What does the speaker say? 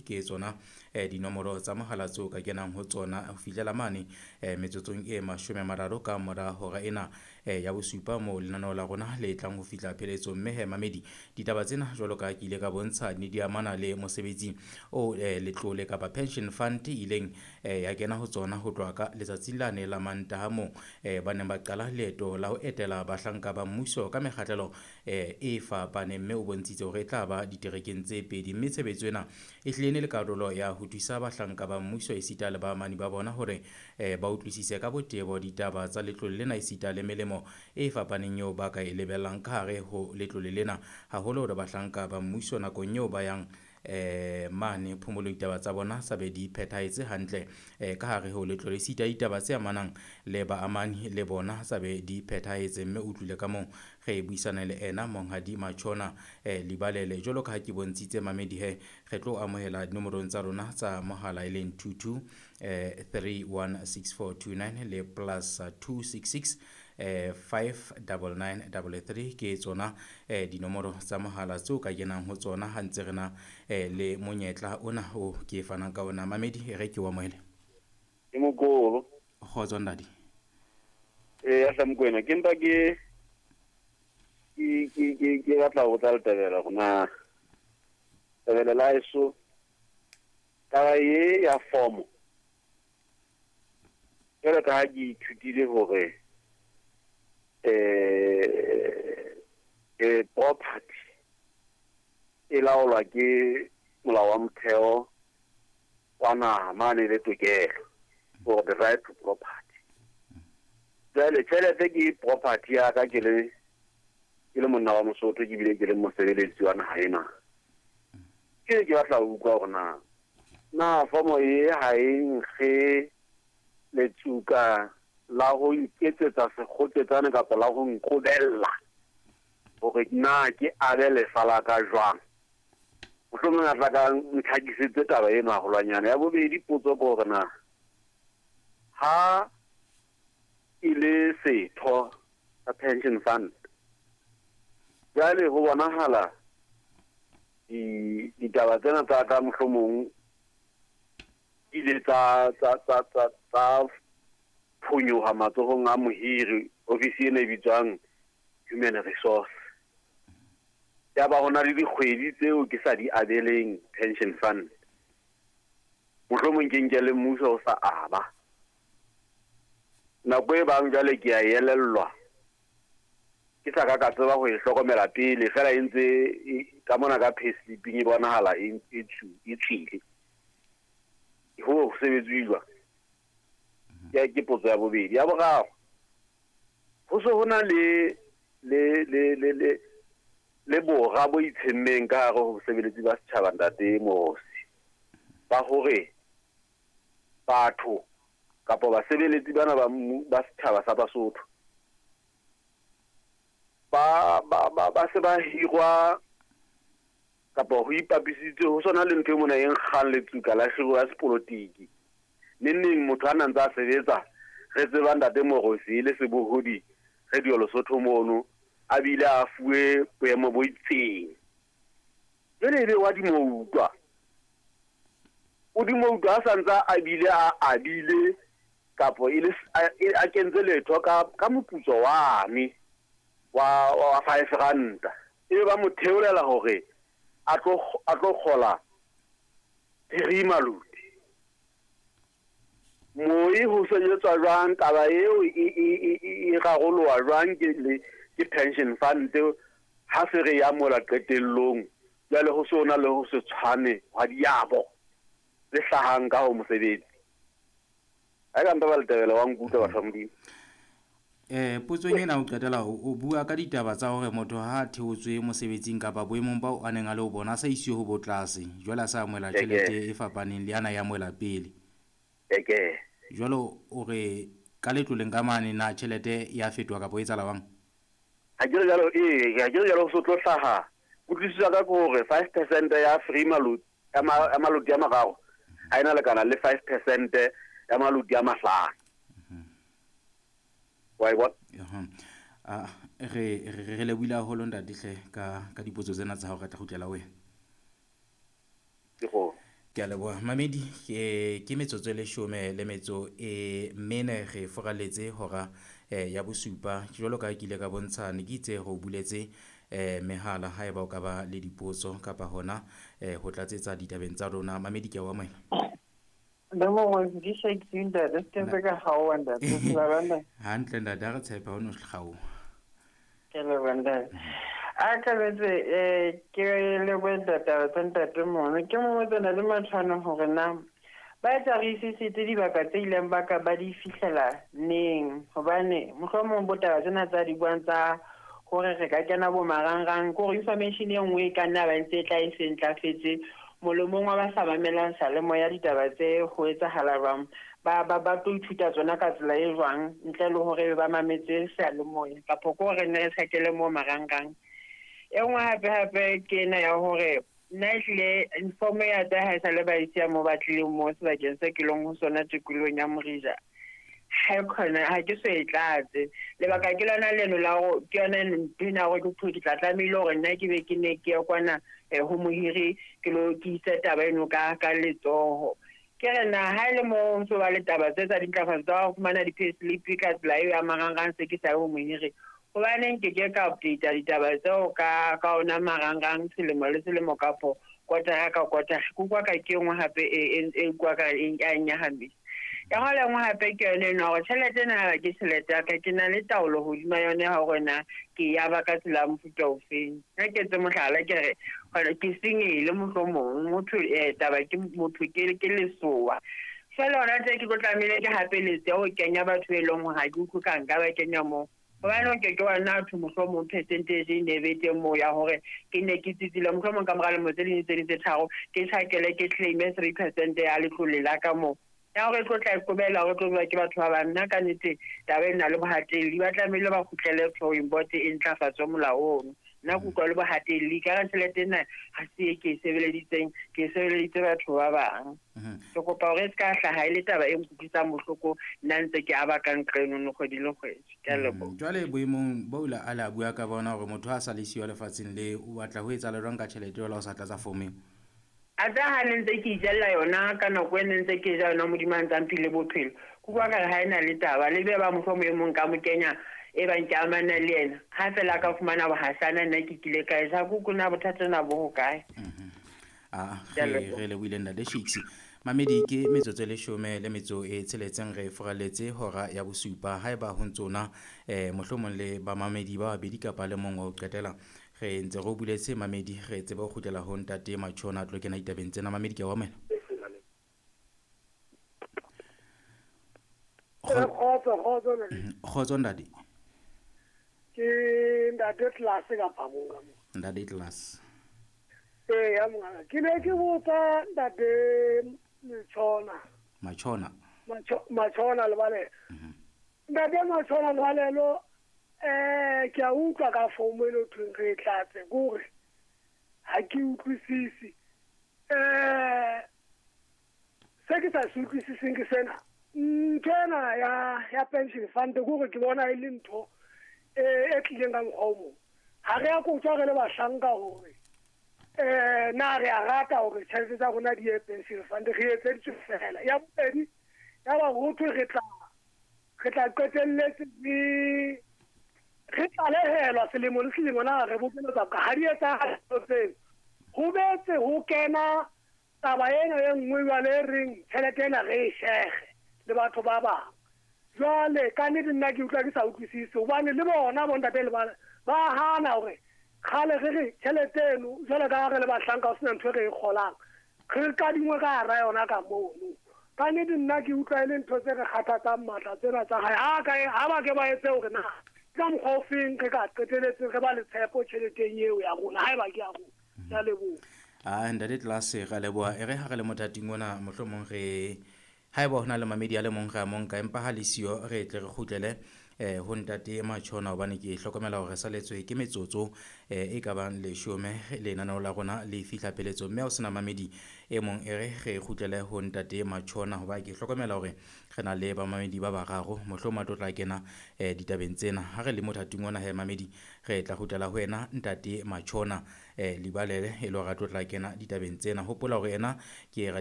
3 ke tsona dinomoro tsa mohala tseo ka kenang ho tsona ho fihlela mane metsotsong e 30 ka mora hora ena ya bosupa moo lenaneo la rona le tlang ho fihla pheletsong. Mme he mamedi, ditaba tsena jwalo ka ke ile ka bontsha ne di amana le mosebetsi o letlole kapa pension fund ileng ya kena ho tsona ho tloha ka letsatsing lane la Mantaha moo ba neng ba qala leeto la ho etela bahlanka ba mmuso ka mekgahlelo e fapaneng, mme o bontshitse hore e tla ba diterekeng tse pedi. Mme tshebetso ena e hlile ne le karolo ya ho thusa bahlanka ba mmuso esita le baamani ba bona hore ba utlwisise ka botebo ditaba tsa letlole lena esita le melemo e fapaneng eo ba ka e lebellang ka hare ho letlole lena, haholo hore bahlanka ba mmuso nakong eo ba yang mane phomolong ditaba tsa bona sa be di phethahetse hantle ka hare ho letlole, esita ditaba tse amanang le baamani le bona sa be di phethahetse. Mme o utlwile ka moo re buisana le ena Monghadi Matshona Libalele. Jwalo ka ha ke bontshitse mamedi he, re tlo amohela dinomorong tsa rona tsa mohala e leng 22 316429 le plus 266 59933 ke tsona dinomoro tsa mohala tseo ka kenang ho tsona ha ntse re na le monyetla ona o ke fanang ka ona. Mamedi, re ke wa amohele. Ke mokolo. Kgotso ndadi. Ya Mokoena, ke mpa ke batla ho botsa Letebele hore na Tebele la eso taba e ya form jwalo ka ha ke ithutile hore property e laolwa ke molao wa motheo wa naha mane le tokelo for the right to property. Jwale tjhelete ke property ya ka ke le monna wa Mosotho, ke bile ke le mosebeletsi wa naha ena. Ke batla ho utlwa hore na fomo e ha e nkge letsuka la ho iketsetsa sekgotetsane kapa la ho nqobella hore na ke abe lefa la ka jwang. Mohlomong a tla ka ntlhakisetse taba eno haholwanyane. Ya bobedi potso ke hore na ha e le setho sa pension fund, jwale ho bonahala ditaba tsena tsa ka mohlomong ile tsa phonyoha matsohong a mohiri, ofisi ena e bitswang human resource. Ya ba hona le dikgwedi tseo ke sa di abeleng pension fund, mohlomong ke nke le mmuso o sa aba. Nako e bang jwale ke a elellwa, ke sa ka tseba ho e hlokomela pele, fela e ntse ka mona ka payslip-ing e bonahala e tswile. Ho sebetswe jwang? Ke potso ya bobedi. Ya boraro, ho se ho na le bora bo itshemmeng ka hare ho bosebeletsi ba setjhaba ntate Mosi, ba hore batho kapa basebeletsi bana ba setjhaba sa Basotho ba se ba hirwa kapa ho ipapisitse ho sona le ntho e mona e nkgang letsuka la kgiro ya sepolotiki. Neneng motho a ntse a sebetsa, re tseba ntate Morosi le sebohodi Radio Lesotho mono, a bile a fuwe boemo bo itseng. Jwale ebe wa dimoutlwa, o dimoutlwa a santsa a bile a abile kapo e le a kentse letho ka moputso wane wa 5 ranta, ebe ba mo theolela hore a tlo kgola 3 maluti. Moi ho sebetswa jwang taba eo e raroloha jwang ke pension fund ha se re ya mola qetellong? Jwale ho se ona le ho se tshwane hwa diabo le hlahang ka ho mosebetsi. Ha ka mpa ba Letebele wa nkutlwa batho ba Modimo. Potsong ena o qetela o bua ka ditaba tsa hore motho ha a theotswe mosebetsing kapa boemong bao a neng a le ho bona a sa isiwe ho botlase, jwale a sa amohela tjhelete e fapaneng le ana ya amohela pele. Jwalo o re ka letloleng ka mane na tjhelete ya fetoha kapa o etsahala jwang? Ha ke re jwalo, ha ke re jwalo ho se tlo hlaha. Kutlwisiso ya ka ke hore 5% ya free maluti ya maluti a mararo ha ena lekana le 5% ya maluti a mahlano. Wa e bona? Re lebohile haholo ntate hle ka dipotso tsena tsa hao, re tla kgutlela ho wena. Ke go. Ke a leboha mamedi. Ke metsotso e 14 le metso e 4 re foraletse hora ya bosupa. Jwalo ka ke ile ka bontsha, ne ke itse re o buletse mehala haeba o ka ba le dipotso kapa hona ho tlatsetsa ditabeng tsa rona. Mamedi, ke a o amohela. Hantle ntate, ha re tshepe ha o no kgaoha. Ke leboha ntate. A ka betse ke lebohe taba tsa ntate mono. Ke mo tsena le Matshwana hore na ba etsa re isisitse dibaka tse ileng ba ka ba di fihlela neng, hobane mohlomong bo taba tsena tsa di buang tsa hore re ka kena bo marangrang, ke hore information e nngwe e ka nna ba ntse e tla e se ntlafetse molomong wa ba sa mamelang salemoya ditaba tse ho etsahala jwang, ba ba ba tlo ithuta tsona ka tsela e jwang ntle le hore ba mametse seyalemoya kapa ke hore ne re tjhakele mo marangrang. E nngwe hape hape ke ena ya hore nna ehlile form ya tsa ha e sale ba isiya mo ba tlileng mo sebakeng se ke leng ho sona tikolohong ya Morija, ha e khona ha ke so e tlatse. Lebaka ke lona leno la hore ke yona ntho ena ya hore ke tla tlamehile hore nna ke be ke ne ke ye kwana ho mohiri ke lo ke ise taba eno ka letsoho. Ke re na ha e le mo ntso ba le taba tse tsa dintlafatso tsa ho fumana di-payslip ka tsela eo ya marangrang se ke sa ye ho mohiri, hobaneng ke ke ka update ditaba tseo ka ona marangrang selemo le selemo kapo kotara ka kotara. Ke utlwa ka ke nngwe hape e utlwa ka e nyahamisa. Ya hore nngwe hape ke yone eno hore tjhelete ena ha ke tjhelete ya ka, ke na le taolo hodima yone ha hore na ke ya ba ka tsela ya mofuta ofeng. Ha ke etse mohlala ke re hore ke sengele mohlomong motho taba ke motho ke lesowa. Jwale hona tje ke tlo tlamehile ke hapeletse ho kenya batho e leng hore ha ke utlwe ka nka ba kenya moo. Hobane o ke ke wa nna thwe mohlomong percentage e ne be teng moo ya hore ke ne ke tsitsile mohlomong ka mora lemo tse ding tse ding tse tharo ke tjhakele ke claim-e 3% ya letlole la ka moo. Ya hore e tlo tla e qobella hore e tlo bewa ke batho ba bang. Nna ka nnete taba ena le bohatelli ba tlamehile ba kgutlele drawing board e ntlafatswe molao ono. Nna ke utlwa le bohatelli ka re tjhelete ena ha se e ke e sebeleditseng, ke e sebeleditse batho ba bang. Ke kopa hore e se ka hlaha e le taba e nkutlwisang bohloko nna ntse ke aba ka nqa eno kgwedi le kgwedi. Ke a leboha. Jwale boemong bo la a la bua ka bona hore motho ha sa le siyo lefatsheng le o batla ho etsahala jwang ka tjhelete jwale ha o sa tlatsa form eo? A tsa ha ne ntse ke ijella yona ka nako e ne ntse ke ja yona Modimo a ntse a mphile bophelo. Ke utlwa ka re ha ena le taba le be ba mohlomong e mong ka mo kenya e bang ke amana le yena. Ha fela ka fumana bohasana nna ke kile ka e ja, ke utlwe na bothata na bo hokae. Re lebohile ntate Shakes. Mamedi, ke metsotso e 16 le metso e 6 re foraletse hora ya bosupa. Haeba ho ntsona mohlomong le ba mamedi ba babedi kapa le mong wa ho qetela, re ntse re o buletse mamedi, re tsebe ho kgutlela ho ntate Matshona a tlo kena ditabeng tsena. Mamedi, ke a o amohela. Kgotso ntate. Ke ntate Class kapa mong ka mo. Ntate Class. Ya mongaka. Ke ne ke botsa ntate Matshona. Matshona. Matshona Lebalelo. Ntate Matshona Lebalelo, ke a utlwa ka fomo e le thweng re e tlatse, ke hore ha ke utlwisise. Se ke sa se utlwisiseng ke sena. Ntho ena ya pension fund, ke hore ke bona e le ntho e tlileng ka mokgwa o mong. Ha re a kotjwa re le bahlanka hore na re a rata hore tjhelete tsa rona di ye pension fund, re etseditswe fela. Ya bobedi, ya ba ho thwe re tla qetelletse re tlalehelwa selemo le selemo na re bokeletsa boka. Ha di etsahale tseno. Ho betse ho kena taba ena e nngwe jwale e reng tjhelete ena re e shege le batho ba bang. Jwale ka nnete nna ke utlwa ke sa utlwisise hobane le bona bo ntate le ba hana hore kgale re re tjhelete eno jwale ka ha re le bahlanka ho sena ntho e re e kgolang, re kadingwe ka hara yona ka mono. Ka nnete nna ke utlwa e le ntho tse re kgathatsang matla tsena tsa hae. Ha ba ke ba etse hore na ka mokgwa o feng re ka qeteletseng re ba le tshepo tjheleteng eo ya rona, haeba ke ya rona. Ke a leboha. Ntate Class, re a leboha. E re ha re le mothating ona, mohlomong re haeba ho na le mamedi a le mong re a mo nka, empa ha le siyo re tle re kgutlele ho ntate Matjhona, hobane ke hlokomela hore re saletswe ke metsotso e ka bang 10 lenaneo la rona le fihla pheletsong. Mme ha o sena mamedi e mong, e re re kgutlele ho ntate Matjhona, hoba ke hlokomela hore re na le bamamedi ba bararo, mohlomong a tlo tla kena ditabeng tsena. Ha re le mothating ona he mamedi, re tla kgutlela ho yena ntate Matjhona Libalele, e le hore a tlo tla kena ditabeng tsena. Hopola hore yena ke